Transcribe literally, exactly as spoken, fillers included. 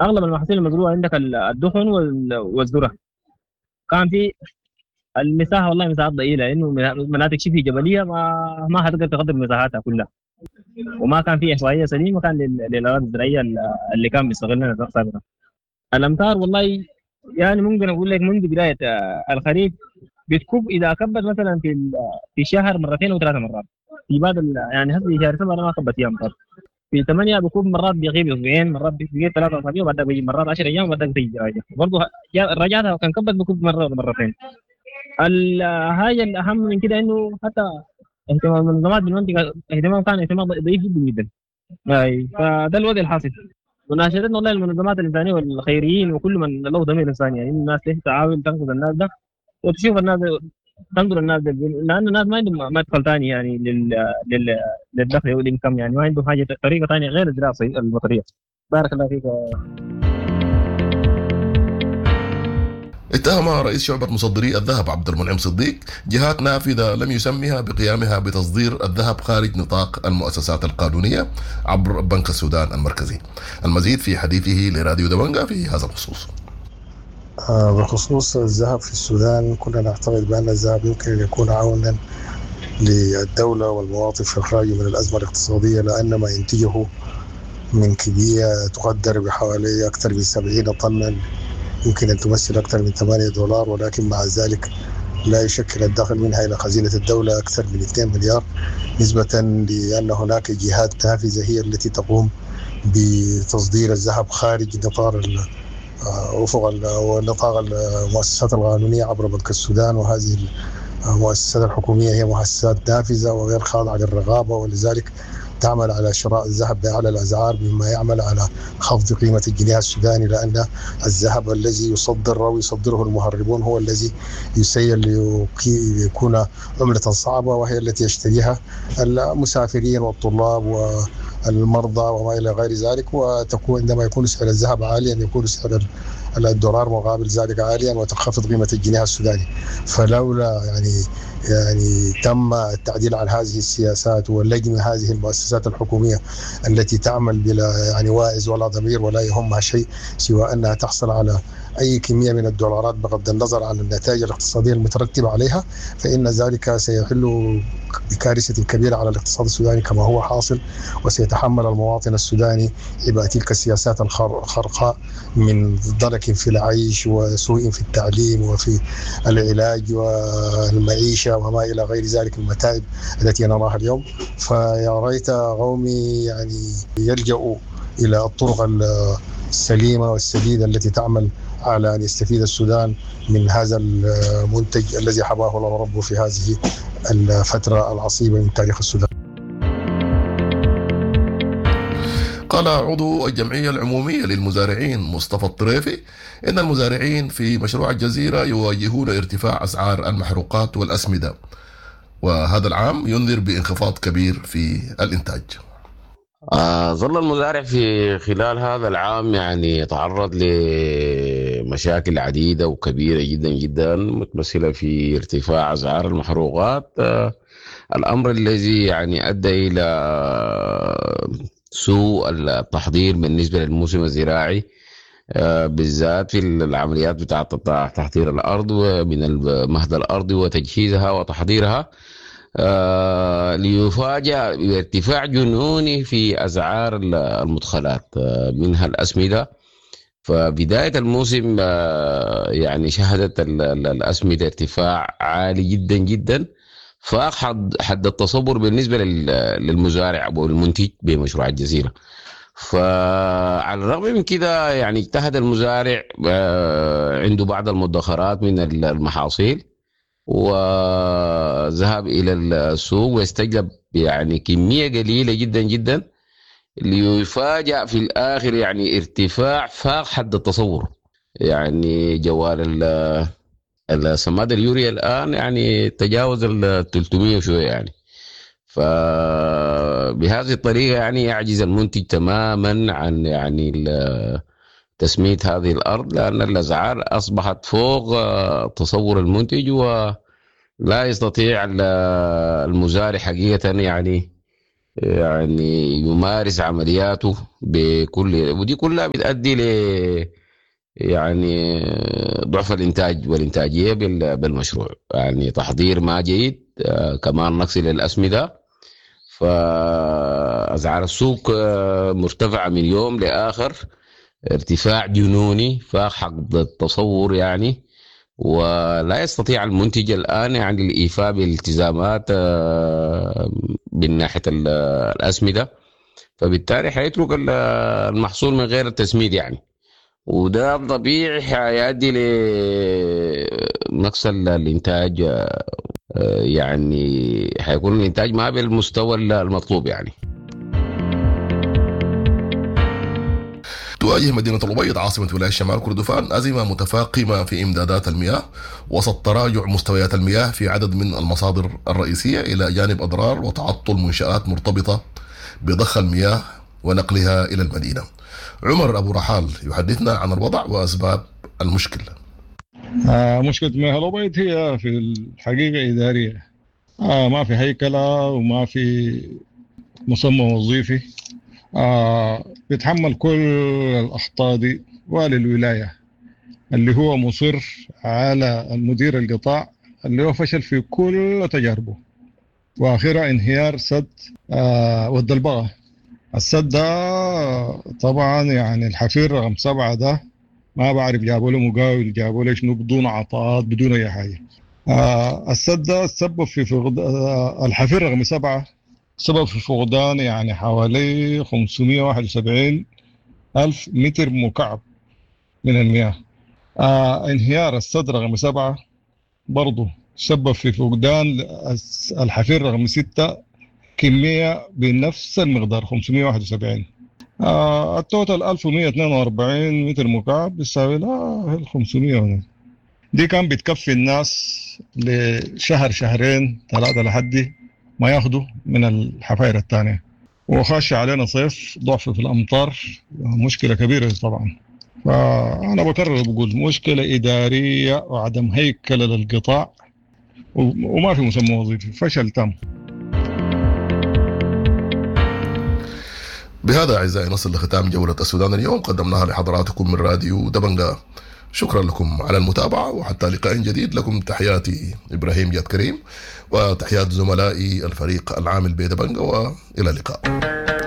اغلب المحاصيل المزروعه عندك الدخن والذرة. كان في المساحة والله مساحات ضئيلة، لانه مناطق شبه جبلية ما ما حتقدر تغطي مساحاتها كلها، وما كان في احصائية سليمة كان للاراضي الزراعية اللي كان بيستغلها سابقا. الامطار والله يعني ممكن اقول لك منذ بداية الخريف بتكب، اذا كبت مثلا في في الشهر مرتين او ثلاث مرات في بعض، يعني هسه شهر سبعة ما كبت فيها امطار. في ثمانية بكون مرات بيغيب اسبوعين، مرات بيغيب ثلاثة اسابيع، وبعدها بيجي مرات عشرة ايام، وبعدها بتيجي راجع برضه رجعتها كان كبت بكون مرة ولا مرتين. الحاجة الاهم من كده انه حتى اهتمام المنظمات بالمنطقة اهتمام كان اهتمام ضعيف جدا جدا. اي فده الوضع الحاصل. مناشدتنا والله المنظمات الانسانية والخيريين وكل من له ضمير انساني، يعني الناس ليش تعاون تنقذ الناس ده وتشوف الناس تنظر الناس ده، لان الناس ما عندهم مدخل ثاني يعني لل لل للدخل والانكم، يعني ما عندهم حاجة طريقه ثانية غير الزراعة المطريه. بارك الله فيك. اتهم رئيس شعبة مصدري الذهب عبد المنعم صديق جهات نافذة لم يسميها بقيامها بتصدير الذهب خارج نطاق المؤسسات القانونية عبر بنك السودان المركزي. المزيد في حديثه لراديو دبنجا في هذا الخصوص. بخصوص الذهب في السودان، كنا نعتقد بأن الذهب يمكن أن يكون عونا للدولة والمواطن في إخراجه من الأزمة الاقتصادية، لأن ما ينتجه من كمية تقدر بحوالي أكثر من سبعين طنا يمكن أن تمثل أكثر من ثمانية دولار، ولكن مع ذلك لا يشكل الدخل منها إلى خزينة الدولة أكثر من اثنين مليار، نسبة لأن هناك جهات نافذة هي التي تقوم بتصدير الذهب خارج نطاق أفق ونطاق المؤسسات القانونية عبر بنك السودان. وهذه المؤسسات الحكومية هي مؤسسات نافذة وغير خاضعة للرقابة، ولذلك تعمل على شراء الذهب بأعلى الأسعار، مما يعمل على خفض قيمة الجنيه السوداني، لأن الذهب الذي يصدر أو يصدره المهربون هو الذي يسير ليكون عملة صعبة، وهي التي يشتريها المسافرين والطلاب والمرضى وما إلى غير ذلك. وتكون عندما يكون سعر الذهب عاليا يكون سعر الدولار مقابل ذلك عاليا وتنخفض قيمة الجنيه السوداني. فلولا يعني يعني تم التعديل على هذه السياسات ولجم هذه المؤسسات الحكومية التي تعمل بلا يعني واعز ولا ضمير ولا يهمها شيء سوى أنها تحصل على أي كمية من الدولارات بغض النظر عن النتائج الاقتصادية المترتبة عليها، فإن ذلك سيحل بكارثة كبيرة على الاقتصاد السوداني كما هو حاصل، وسيتحمل المواطن السوداني عبء تلك السياسات الخرقاء من ضنك في العيش وسوء في التعليم وفي العلاج والمعيشة وما إلى غير ذلك من المتاعب التي نراها اليوم. فيا ريت قومي يعني يلجأوا إلى الطرق السليمة والسديدة التي تعمل على أن يستفيد السودان من هذا المنتج الذي حباه الله ربه في هذه الفترة العصيبة من تاريخ السودان. قال عضو الجمعية العمومية للمزارعين مصطفى الطريفي إن المزارعين في مشروع الجزيرة يواجهون ارتفاع أسعار المحروقات والأسمدة، وهذا العام ينذر بانخفاض كبير في الإنتاج. آه ظل المزارع في خلال هذا العام يعني يتعرض لمشاكل عديدة وكبيرة جدا جدا، متمثلة في ارتفاع أسعار المحروقات، آه الأمر الذي يعني أدى إلى سوء التحضير بالنسبة للموسم الزراعي، آه بالذات في العمليات بتاعة تحضير الأرض ومن المهد الأرضي وتجهيزها وتحضيرها، آه ليفاجأ بارتفاع جنوني في أسعار المدخلات، آه منها الأسمدة. فبداية الموسم آه يعني شهدت الأسمدة ارتفاع عالي جدا جدا، فاق حد التصور بالنسبة للمزارع والمنتج بمشروع الجزيرة. فعلى الرغم من كده يعني اجتهد المزارع، آه عنده بعض المدخرات من المحاصيل، وذهب إلى السوق واستجلب يعني كمية قليلة جدا جدا، ليفاجأ في الآخر يعني ارتفاع فاق حد التصور. يعني جوال السماد اليوريا الآن يعني تجاوز ال ثلاثمية وشوية يعني، فبهذه الطريقة يعني يعجز المنتج تماما عن يعني تسمية هذه الأرض، لأن الأسعار أصبحت فوق تصور المنتج، ولا يستطيع المزارع حقيقة يعني يعني يمارس عملياته بكل، ودي كلها بتؤدي ل يعني ضعف الإنتاج والإنتاجية بالمشروع. يعني تحضير ما جيد، كمان نقص للأسمدة، فأسعار السوق مرتفعة من يوم لآخر ارتفاع جنوني فاق حق التصور يعني، ولا يستطيع المنتج الآن يعني الإيفاء بالالتزامات من ناحية الأسمدة، فبالتالي حيترك المحصول من غير التسميد يعني، وده طبيعي حيؤدي لنقص الإنتاج، يعني حيكون الإنتاج ما بالمستوى المطلوب يعني. تواجه مدينة الأبيض عاصمة ولاية شمال كردفان أزمة متفاقمة في إمدادات المياه وسط تراجع مستويات المياه في عدد من المصادر الرئيسية، إلى جانب أضرار وتعطل منشآت مرتبطة بضخ المياه ونقلها إلى المدينة. عمر أبو رحال يحدثنا عن الوضع وأسباب المشكلة. آه مشكلة مياه الأبيض هي في الحقيقة إدارية، آه ما في هيكلة وما في مسمى وظيفي، آه بيتحمل كل الأخطاء دي والي الولاية اللي هو مصر على المدير القطاع اللي هو فشل في كل تجاربه، وآخرها انهيار سد آه ود البغا. السد ده طبعا يعني الحفير رقم سبعة ده ما بعرف جابوا له مقاول، جابوا له شنو، بدون عطاءات بدون أي حاجة. آه السد ده تسبب في فقد آه الحفير رقم سبعة سبب في فقدان يعني حوالي خمسمية وواحد وسبعين ألف متر مكعب من المياه. آه انهيار السد رقم سبعة برضه سبب في فقدان الحفير رقم ستة كمية بنفس المقدار خمسمية وواحد وسبعين. آه ال total ألف ومية واثنين وأربعين متر مكعب بيساوي لا خمسمية. دي كان بتكفي الناس لشهر شهرين ثلاثة لحد ما ياخدوا من الحفاير الثانية. وخاش علينا صيف، ضعف في الأمطار، مشكلة كبيرة طبعا. فأنا بكرر بقول مشكلة إدارية وعدم هيكلة للقطاع وما في مسمى وظيفي، فشل تام. بهذا أعزائي نصل لختام جولة السودان اليوم، قدمناها لحضراتكم من راديو دبنجا. شكرا لكم على المتابعة، وحتى لقاء جديد لكم تحياتي إبراهيم جاد كريم وتحيات زملائي الفريق العامل بدبنجا، وإلى اللقاء.